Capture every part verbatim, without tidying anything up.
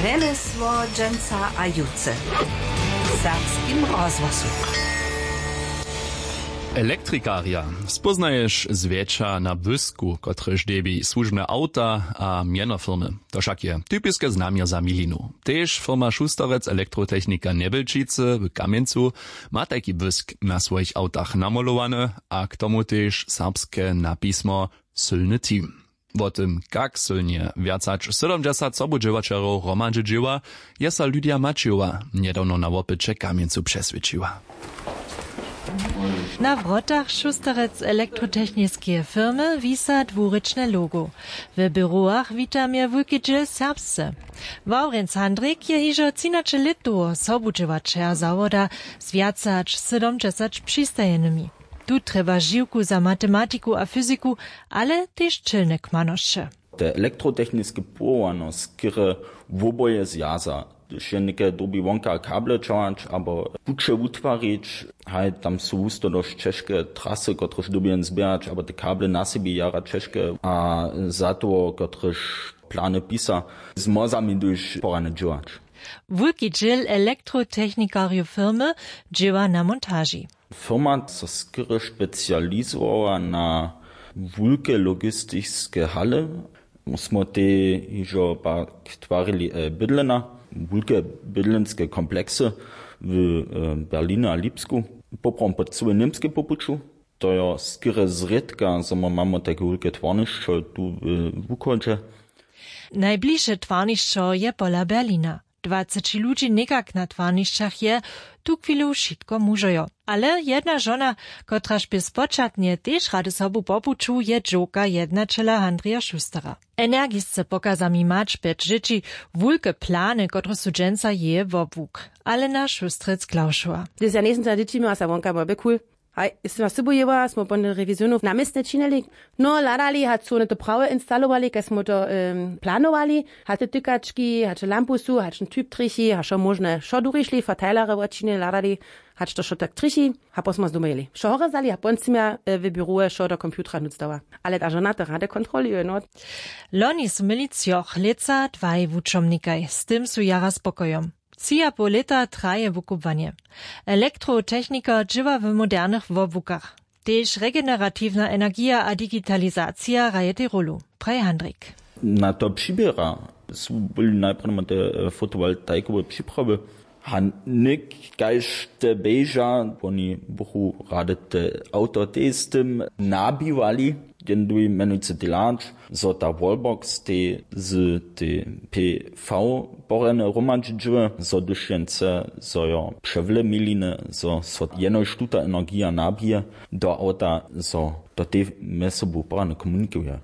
Rjemjesło dźensa a jutře w serbskim rozhłosu. Elektrikarja spóznaješ zwjetša na błysku, kotryž dźěbi słužbne awta a mjenofirmy. To wšak je typiske znamjo za milinu. Tež firma Šusterec Elektrotechnika Njebjelčicy w Kamjencu ma tajki błysk na swojich awtach namolowany, a k tomu tež serbske napismo Sylny team. Wo tym, kak sylnje wjac hač sydomdźesat sobudźěłaćerjow hromadźe dźěła, je so Lydia Maćejowa njedawno na wopyće w Kamjencu přeswědčiła. Na wrotach Šusterec elektrotechniskeje firmy wisa dwurěčne logo. W běrowach wita mje wulki dźěl serbsce. Wawrjenc Handrik je hižo třinaće lět dołho sobudźěłaćerja zawoda z wjace hač sydomdźesat přistajenymi. Tu trjeba žiwku za matematiku a fyziku, ale tež čelne kmanosće. Te elektrotechniske powołano, skerje woboje zwjaza, hdyž je něke dyrbi wonka kable ćahać abo puće wutwarić, haj, tam su husto dosć ćežke trasy, kotrež dyrbi jen zběhać, abo te kable na sebi jara ćežke, a za toho, kotrež plany pisa, z mozami duž porane dźěłać. Wulki dźěl elektrotechnikarjow firmy dźěła na montaži. Firma so skerje specializowała na wulke logistiske hale. Smo te hižo pak twarili, e, bydlena, wulke bydlenske kompleksy w, e, Berlinje a Lipsku, poprawom po cyłej Němskej po puću. To jo skerje zrědka, zo my mamy tajke wulke twarnišćo tu w wuchodźe. Najbližše twarnišćo je pola Berlina. Dwaceći ludźi někak na twarnišćach je tuchwilu wšitko mužojo. Ale jedna žona, kotraž bě spočatnje tež rady sobu po puću, je dźowka jednaćela Handrija Šustera. Energisce pokaza mi mać pjeć dźěći, wulke plany, kotrež su dźensa jeje wobłuk. Alena Šustrec-Klaušowa. Hdyž ja njejsym za dźěći měła, sa wonka była bě cool. Haj, jeste nas sybu jěła, smo po rewizionow na městnje činili. No, hladali, hač su wone to prawje instalowali, kaž smo to, em, planowali, hač te tykački, hač lampusu, hač ten typ trjechi, hač wšo móžne, wšo durišli, verteilerje wočinili, hladali, hač to wšo tak trjechi, a potom smo zdomojili. Wšo horje zdali a potom sym ja, e, w běrowe wšo do komputera nutř dała. Ale ta žona to rady kontroluje, no. Loni su měli třoch, lětsa dwaj wučomnikaj, z tym su jara spokojom. Tři a poł lěta traje wukubłanje. Elektrotechnikar dźěła w modernych wobłukach. Tež regeneratiwna energija a digitalizacija hrajej rolu, praji Handrik. Na to přiběra su byli najprjedy te, e, fotowoltaikowe připrawy. A něk, kaž te běža, woni buchu rady te awto tež z tym nabiwali. Jen duj mjenujcy delać, zo ta wallbox tej z tej P V porjene hromadźi dźěły, zo hdyž jen chce, zo jo přewle miliny, zo so jenož tuta energija nabije do awta, zo to tej mjez sobu porjane komunikuje.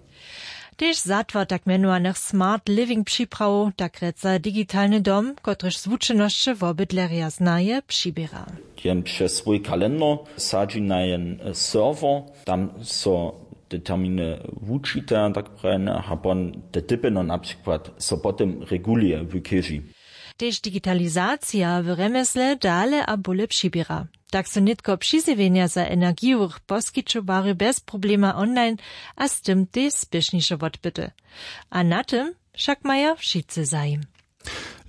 Tež zatwar tak mjenowanych smart living připrawow, tak rěca digitalny dom, kotryž zwučenosće wobydlerja znaje, přiběra. Jen přez swój kalendar sadźi na jen, e, serwer, tam so te terminy wučite, tak prajene, a pon te typy, no, na přikład so potom reguluje w chěži. Tež digitalizacija w rjemjesle dale a bóle přiběra. Tak su nětko přizjewjenja za energijowych poskićowarjow bjez problema online a z tym tež spěšniše wotbyty. A na tym wšak maja wšitcy zajim.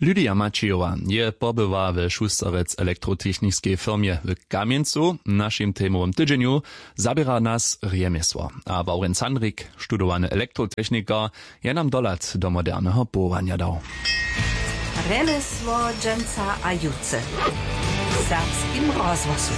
Lydia Maćijowa je pobyła we Šusterec elektrotechniskej firmje w Kamjencu. W našim temowym tydźenju zaběra nas rjemjesło. A Wawrjenc Handrik, studowany elektrotechnikar, je nam dohlad do moderneho powołanja dał. Rjemjesło dźensa a jutře w serbskim rozhłosu.